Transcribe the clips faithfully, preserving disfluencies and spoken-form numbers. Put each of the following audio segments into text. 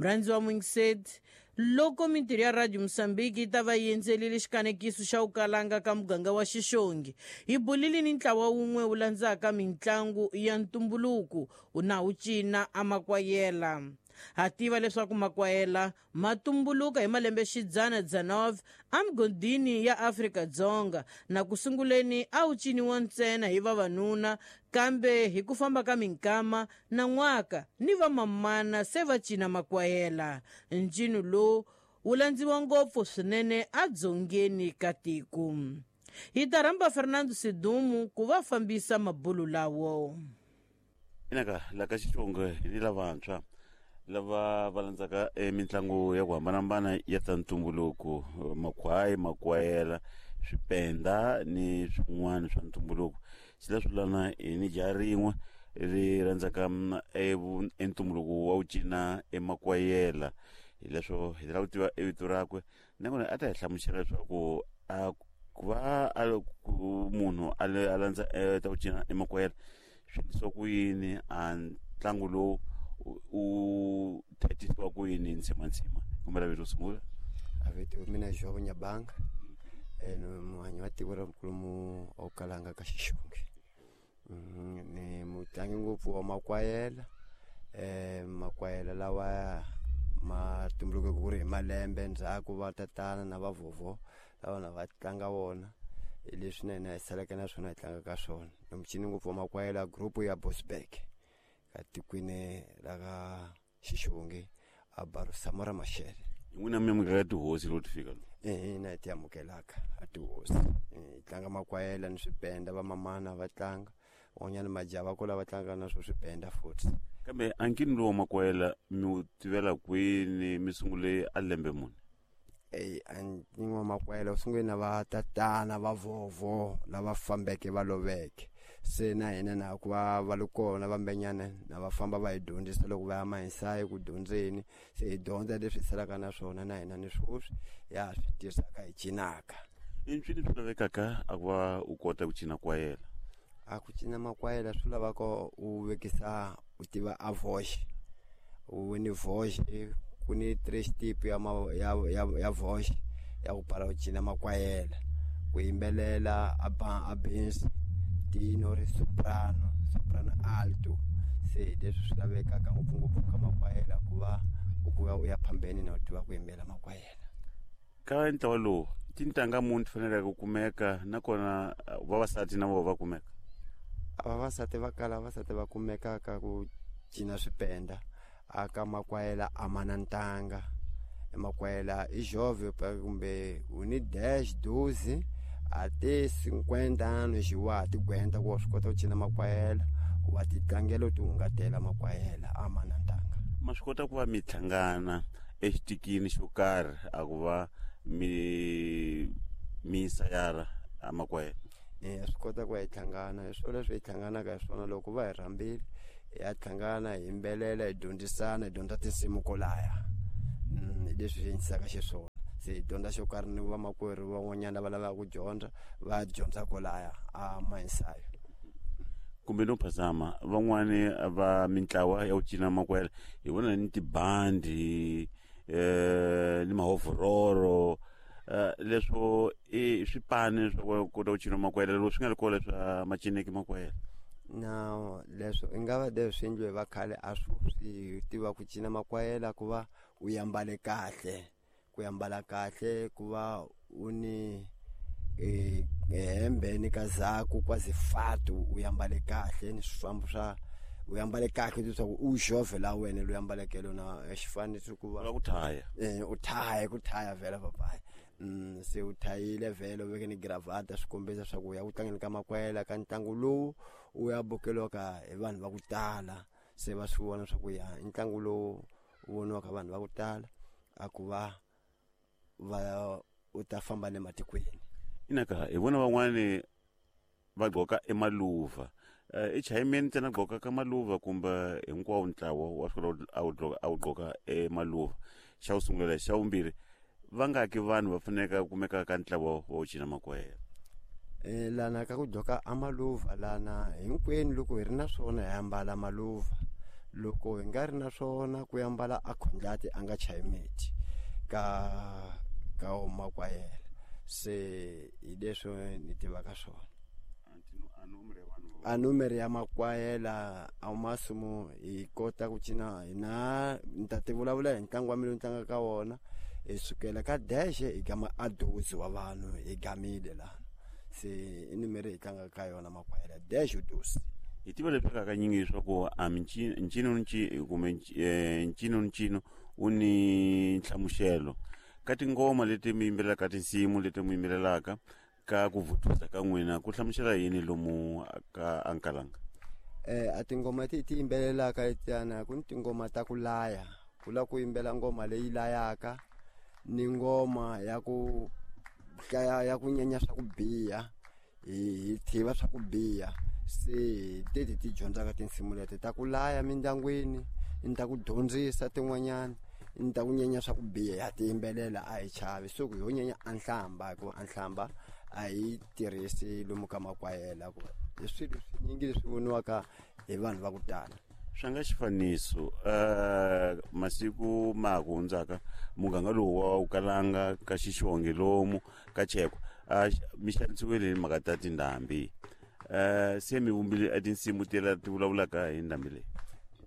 Murhandzi wa Mwingseti, loko mintirho ya Radio Mozambique yi ta va yi endzelile xikanekiso xa Ukalanga ka muganga wa Xixongi, hi bulile ni ntlawa wun'we wu landzaka mitlangu ya ntumbuluko na wu cina amakwayela. Ha tiva leswaku makwayela ma tumbuluka hi malembe xidzana dzanov emigodini ya Afrika-Dzonga, na ku sunguleni a wu ciniwa ntsena hi vavanuna, kambe hi ku famba ka minkama na n'waka ni vamamana se va cina makwayela. Ncino lowu wu landziwa ngopfu swinene adzongeni ka tiko. Hi ta rhamba Fernando Sidumu ku va fambisa mabulu lawo. Inaka la ka Xitsonga ni lavantshwa lava va landzaka e mitlangu ya ku hambanahambana ya ta ntumbuluko, makhwayi, makwayela, swipenda ni swin'wana swa ntumbuluko. Xileswo lana hi ni jaha rin'we ri rhandzaka e ntumbuluko wa wu cina emakwayela. Hi leswo hi lava ku tiva e vito rakwe, nakona a ta hi hlamusela leswaku a ku va a ku munhu a a landza ta ku cina emakwayela swi endlisiwa ku yini, a ntlangu lowu u thatisiwa ku yini ntshima kombela vito sungula. A vito mina Jobo Nyabanga, ni muhanyi wa tiko ra nkulumo Okalanga ka Xixongi. Ni mutlangi ngopfu wa makwayela. eh makwayela lawa ma tumbuluke ku ri hi malembe ndzhaku va tatana na vavhovho lava na va tlanga wona, hi leswi na hina hi saleke na swona hi tlanga ka swona. Ni mucini ngopfu wa makwayela group ya Bosberg ka tikweni ra ka Xixongi a Barusamora Mashele. N'wina mi amukela tihosi loko ti fika? Eh na hi ti amukelaka a tihosi. Hi tlanga makwayela ni swipenda, vamamana va tlanga, van'wanyana majaha va kula va tlanga na swo swipenda futhi. Kambe ankini lowu wa makwayela mi wu tivela kwini, mi sungule a lembe muni? Eyi, ankini wa makwayela wu sungule na va tatana va vhovho lava fambeke va loveke, se na hina na ku va va li kona vambenyana na va famba va hi dyondzisa loko va ya mahinsayi ku dyondzeni, se hi dyondza leswi hi salaka na swona na hina ni swoswi ya swi tirhisaka hi cinaka. I ncini swi lavekaka a ku va u kota ku cina kwayela? A ku cina makwayela swi lavaka u vekisa u tiva a voice, u ni voice ku ni three step ya ya ya ya voice ya ku pala u cina makwayela, ku yimbelela a ba a bass, tenor, soprano, soprano alto. Se leswi swi lavekaka ngopfungopfu ka makwayela ku va u ku u ya phambeni na u tiva ku yimbela makwayela. Ka ntlawa lowu tintangha muni ti faneleke ku kumeka, nakona vavasati na vona va kumeka? Vavasati va kala, vavasati va kumeka ka ku cina swipenda aka makwayela a ma na ntanga. Makwayela i jove kumbe u ni dash doze a te cinquenta anos wa ti gwenta ku wa swi kota ku cina makwayela, wa ti tlangela u ti hungatela makwayela a ma na ntanga. Ma swi kota ku va mi hlangana exitikini xo karhi a ku va mi mi sayara a makwayela? Eh swi kota ku va hi hlangana, hi swona leswi hi hlanganaka hi swona loko va hi rhambile hi ya hlangana hi yimbelela hi dyondzisana hi dyondza tinsimu kolaya. Hi leswi swi endlisaka xiswona, se hi dyondza xo karhi ni vamakwerhu van'wanyana va lavaka ku dyondza va dyondza kolaya a mahinsayo. Kumbe no phazama van'wani va mintlawa ya ku cina makwayela hi vona ni tibandi eh ni mahovororo, leswo i swipani swa ku kota ku cina makwayela loko swi nga ri kona swa macineki makwayela? Na leswo i nga va leswi swi endliwe va khale a swi swi tiva ku cina makwayela ku va u ambale kahle, ku ambala kahle ku va u ni e hembe ni kazaku kwazi fatu u ambale kahle ni swifambo swa u ambale kahle leswaku u jove la wena loyi ambaleke lona xifaniso ku va ku thaya. Eh u thaya ku thaya vhela papayi. Mm se u thayile vhela u veke ni gravata swi kombisa swa ku ya ku tlangeni ka makwayela ka ntlangu lowu u ya bukeliwaka hi vanhu va ku tala, se va swi vona swa ku ya i ntlangu lowu u voniwaka vanhu va ku tala a ku va va u ta famba le matikweni. Inaka hi vona van'wani va gqoka emaluva, i chayimeni ntsena gqoka ka maluva kumbe hinkwawo ntlawa wa swi kota a wu gqoka a wu gqoka emaluva? Xa ku sungula. Xa vumbirhi, va nga ki vanhu va faneleke ku kumeka ka ntlawa wa ku cina makwayela? Eh lana ka ku gqoka amaluva lana hinkwenu loko hi ri na swona hi ambala maluva, Loko hi nga ri na swona ku ambala a khondlati a nga chayi miti ka ka makwayela. Se hi leswi ni tivaka swona. A numero ya makwayela a masumu hi kota ku cina hina ni ta ti vulavula hi ntlangu wa mina ni tlanga ka wona. Hi sukela ka deshe hi gama a dozi wa vanhu hi gamile laha. Se i numero hi tlanga ka yona makwayela deshe dozi. Hi tiva leswaku hakanyingi leswaku a ncino kumbe ncino ncino wu ni nhlamuselo ka tingoma leti mi yimbelelaka, tinsimu leti mi yimbelelaka, ka ku vutisa ka n'wina ku hlamusela yini lomu ka Ankalanga? Eh a tingoma ti ti yimbelelaka letiyana ku ni tingoma ta ku laya, ku la ku yimbela ngoma leyi layaka ni ngoma ya ku hlaya ya ku nyenya swa ku biha, hi tiva swa ku biha. Se teti ti dyondzaka tinsimu leti ta ku laya mindyangwini, ni ta ku dyondzisa tin'wanyana, ni ta ku nyenya swa ku biha, ya ti yimbelela a hi chavi. So ku ho nyenya a nhlamba, hikuva a nhlamba a hi tirhisi lomu ka makwayela, ku hi swilo swinyingi leswi voniwaka hi vanhu va ku tala. Swa nga xifaniso uh, masiku ma ha ku hundzaka muganga lowu wa Ukalanga ka Xixonge lomu ka Chekwa uh, mi xanisiwile hi mhaka ta tindhambi. Uh, se mi vumbile a tinsimu tela ti vulavulaka hi ndhambi leyi?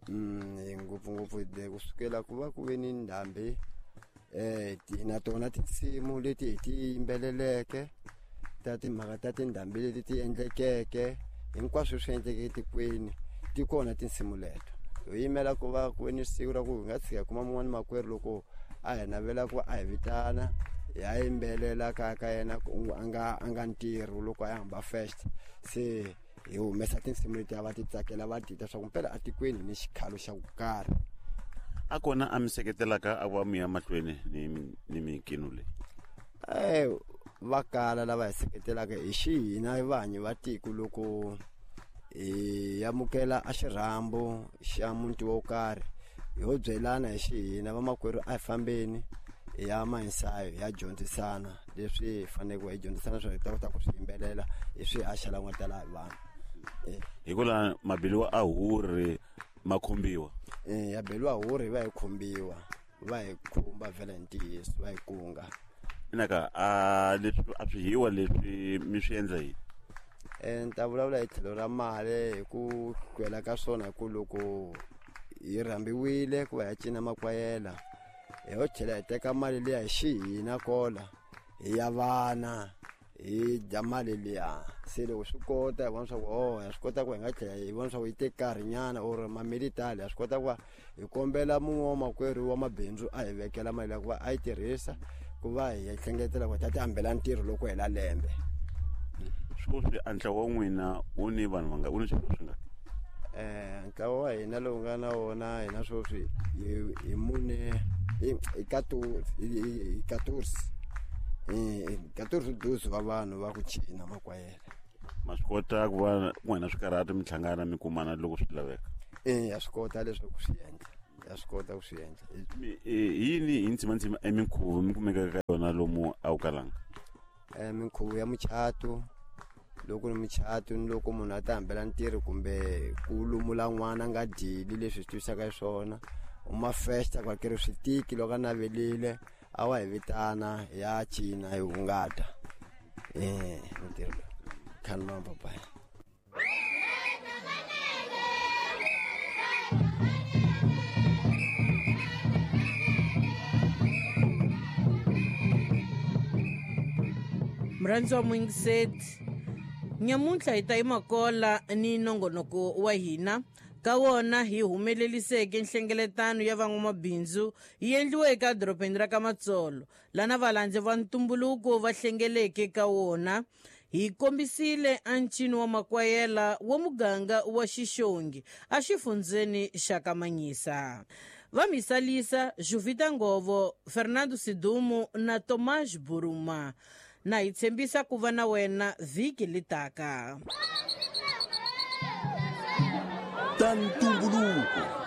Mm, ngopfungopfu kusukela ku va ku ve ni ndhambi eh na tona tinsimu leti hi ti yimbeleleke ta timhaka ta tindhambi leti ti endlekeke hinkwaswo swi endlekeke etikweni, ti kona tinsimu leto. Hi yimela ku va ku ve ni siku ra ku hi nga tshika kuma mun'wani makwerhu loko a hi navela ku a hi vitana hi ya yimbelela kaya ka yena a nga a nga ntirho loko a hamba first. Se hi humesa tinsimu leti a va ti tsakela va ti twa swa ku mpela etikweni ni xikhalo xa ku karhi. A kona a mi seketelaka a va mi ya mahlweni ni ni minkino leyi? Eh va kala lava hi seketelaka hi xihina vanhu va tiko loko hi amukela a xirhambo xa muti wo karhi ho byelana hi xihina vamakwerhu a hi fambeni hi ya mahinsayo hi ya dyondzisana leswi hi faneleke hi dyondzisana swa hi ta kota ku swi yimbelela hi swi haxa la nga tala hi vanhu. Hi ku laha mabeliwa a huri ma khumbiwa? Eh ya beliwa huri va hi khumbiwa, va hi khumba vhela hi ntiyiso, va hi kunga. Inaka a leswi a swi hiwa leswi mi swi endla yini? Eh ni ta vulavula hi tlhelo ra mali hi ku hlwela ka swona, hi ku loko hi rhambiwile ku va hi cina makwayela hi ho tlhela hi teka mali liya hi xihina kola hi ya vana hi dya mali liya. Se loko swi kota hi vona swa ku oh ya swi kota ku hi nga tlhela hi vona swa ku yi teke nkarhinyana or mamilitali ya swi kota ku va hi kombela mun'we wa makwerhu wa mabindzu a hi vekela mali ya ku va a yi tirhisa ku va hi hlengeletela ku hi ta ti hambela ntirho loko hela lembe. Sweswi a ntlawa wa n'wina wu ni vanhu vanga wu ni swilo swi nga? Eh ntlawa wa hina lowu nga na wona hina sweswi hi mune hi quatorze hi quatorze doze va vanhu va ku cina makwayela. Ma swi kota ku va n'wina swikarhati mi hlangana mi kumana loko swi laveka? Eh ya swi kota leswaku swi endla, ya swi kota ku swi endla. Yini hi ntsimantsima eminkhuvo mi kumekaka ka yona lomu a wu kalanga? Eh minkhuvo ya muchato, loko ni muchato ni loko munhu a ta hambela ntirho kumbe ku lumula n'wana a nga dyeli leswi swi tivisaka swona, u ma festa ku hakeriwa switiki loko a navelile a wa hi vitana hi ya cina hi hungata. Eh ntirho lowu khani papai. Murhandzi wa muyingiseti, nyamuntlha hi ta yimakola ni nongonoko wa hina ka wona hi humeleliseke nhlengeletano ya van'wamabindzu yi endliweke eka dorobeni ra ka Matsolo lana valandzi va ntumbuluko va hlengeleke ka wona. Hi kombisile a ncino wa makwayela wa muganga wa Xixongi exifundzeni xa ka Manyisa. Va misalisa Juvita Ngovo, Fernando Sidumo na Tomás Buruma. Na hi tshembisa ku va na wena vhiki litaka. Ta ntumbuluko.